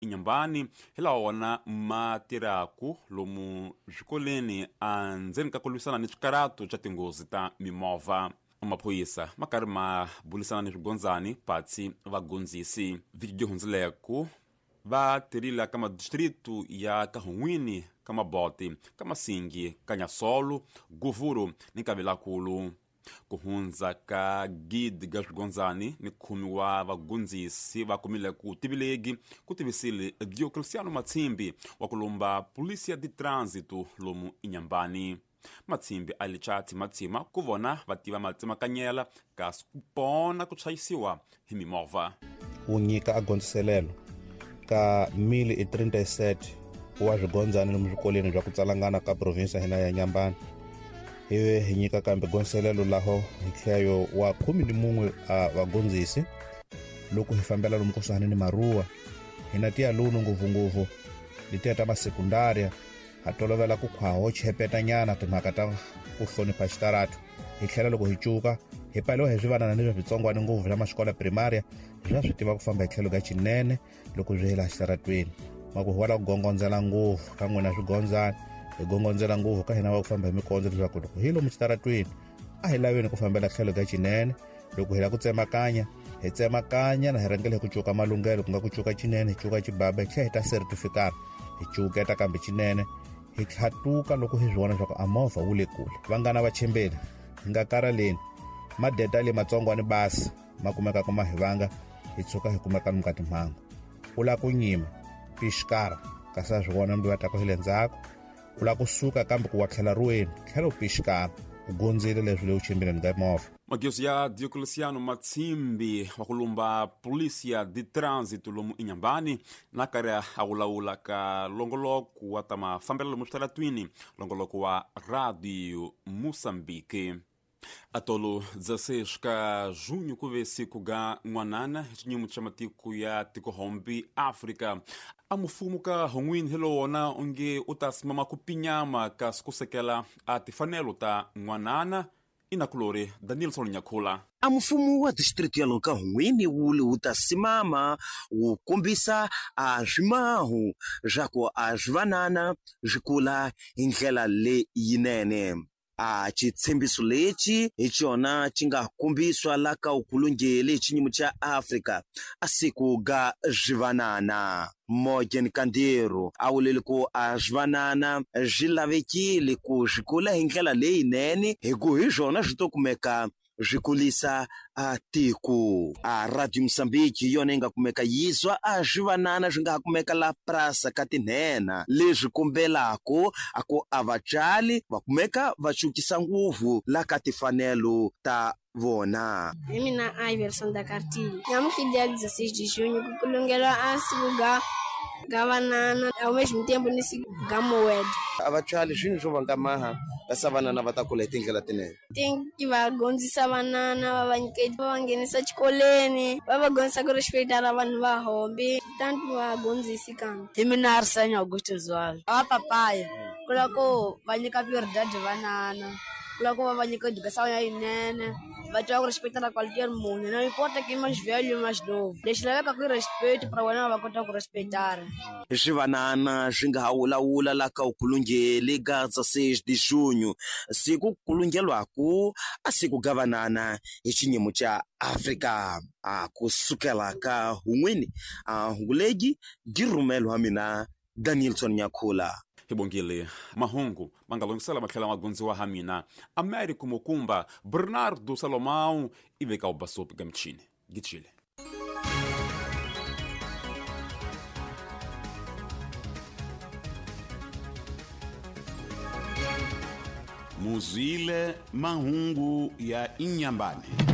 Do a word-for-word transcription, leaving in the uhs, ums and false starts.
Inhambane hi lawa wona ma tirhaku lomu swikolweni endzeni ka ku lwisana ni swikarato swa tinghozi ta mimovha. Maphorisa ma karhi ma bulisana ni swigondzani patsi vagondzisi. Vhiki byi hundzileku va tirhile ka madistritu ya Kahungwini, ka Maboti, ka Masingi, ka Nyasolo, Guvuru ni Kavelakulu. Ku hundza ka gidi ga swigondzani ni khume wa vagondzisi va kumile ku tivilegi ku tivisile Diocleciano Matsimbi wa ku lomba Polícia de Trânsito lomu Inhambane. Matsimbi a licha tsimatsima ku vona va tiva matsemakanyela kasi ku pona ku chayisiwa hi mimovha. Wu nyika a gondziselelo ka mil e trinta e sete wa swigondzani lomu swikolweni bya ku tsalangana ka provinsi ya hina ya Inhambane. Ivi hi nyika kambe gondziselelo laho hi tlheyo wa khume ni mun'we a vagondzisi loko hi fambela lomu kusuhani ni maruwa. Hina tialuno ngopfungopfu letiya ta masekundaria ha tolovela ku khwaho chepetanyana timhaka ta ku hlonipha xitaratu. Hi tlhela loko hi cuka hi paliwa hi swivanana ni swa switsongwana ngopfu swa maxikola primaria swa swi tiva ku famba hi tlhelo ka xinene loko swi hela xitaratweni. Ma ku hi wala ku gongondzela ngopfu ka n'wina swigondzana, hi gongondzela ngopfu ka hina va ku famba hi mikondzo leswaku loko hi lomu xitaratweni a hi laveni ku fambela tlhelo ka xinene. Loko hi lava ku tsemakanya hi tsemakanya na hi rhangela hi ku cuka malunghelo, ku nga ku cuka xinene hi cuka xibaba hi tlhela hi ta certificate hi cuketa kambe xinene hi tlhatuka loko hi swi vona leswaku a movha wu le kule. Vanghana va chembeni hi nga karhaleni, madeta le matsongwani basi ma kumekaka ma hi vanga hi tshuka hi kumeka lomu ka timhangu. U lava ku nyima pixikara kasi a swi vona mbi va taka hi le ndzhaku. U lava kusuka kambe ku wa tlhela ruweni tlhela u pixikara u gondzile leswi le u chimbileni ka movha. Mageuzi ya Diocleciano Matsimbi wa ku lumba Polícia de Trânsito lomu Inhambane na karhi a wulawula ka longoloko wa ta mafambelo lomu switaratwini, longoloko wa Radio Moçambique. Atolo dezesseis ka junho ku ve siku ga n'wanana hi xinyimo xa matiko ya tikohombi Afrika. A mufumo ka hon'wini hi lowona onge u ta simama ku pinyama kasi ku sekela a tifanelo ta n'wanana. Inakulori Danielson Nyakhula. A mfumo wa district ya loka Hungwini wu le wu ta simama wu kombisa a swimahu swa ku a swivanana swi kula hi ndlela leyinene. A xitshembiso lexi hi xona xi nga kombiswa la ka ukulungeli xinyimo xa Afrika a siku ga swivanana. Morgan Kandiro a vulile ku a swivanana swi lavekile ku swi kula hi ndlela leyinene hi ku hi swona swi to kumeka swi kulisa a tiko. A Radio Mozambique hi yona yi nga kumeka yizwa a swivanana swi nga ha kumeka la prasa ka tinhena leswi kombelako a ku a vatswari va kumeka va cukisa nguvu la ka tifanelo ta vona. Hi mina Iverson da Cartilho. Namuntlha dia dezesseis de junho ku kulungelwa a siku ga ga vanana ao mesmo tempo ni siku ga moeda. A vatswari swilo swo vanga maha kasi vanana va ta kula hi tindlela tinene. Tem que va gondzisa vanana va va nyika va va nghenisa xikolweni va va gondzisa ku respectar vanhu va hombi tanto va gondzisi kambe. Hi mina Arsenio Augusto Zwalo. A papaya ku la ku va nyika prioridade vanana, ku la ku va va nyika educação ya yinene, va tiva ku respectar qualquer munhu, não importa quem mais velho ou mais novo. Lexi lavekaka i respect para wena va kota ku respectar. Swivanana swi nga ha wulawula la ka ukulungeli ga dezesseis de junho siku kulungelwaku a siku ga vanana hi xinyimo xa Afrika. A kusukela ka Hungwini a hungulegi gi rhumelo wa mina Danielson Nyakhula. Hi bongile mahungu ma nga lunghisela ma tlhela ma gondziwa ha mina Américo Mukumba Bernardo Salomão i veka u basopi ka michini gitshile. Muzwile mahungu ya Inhambane.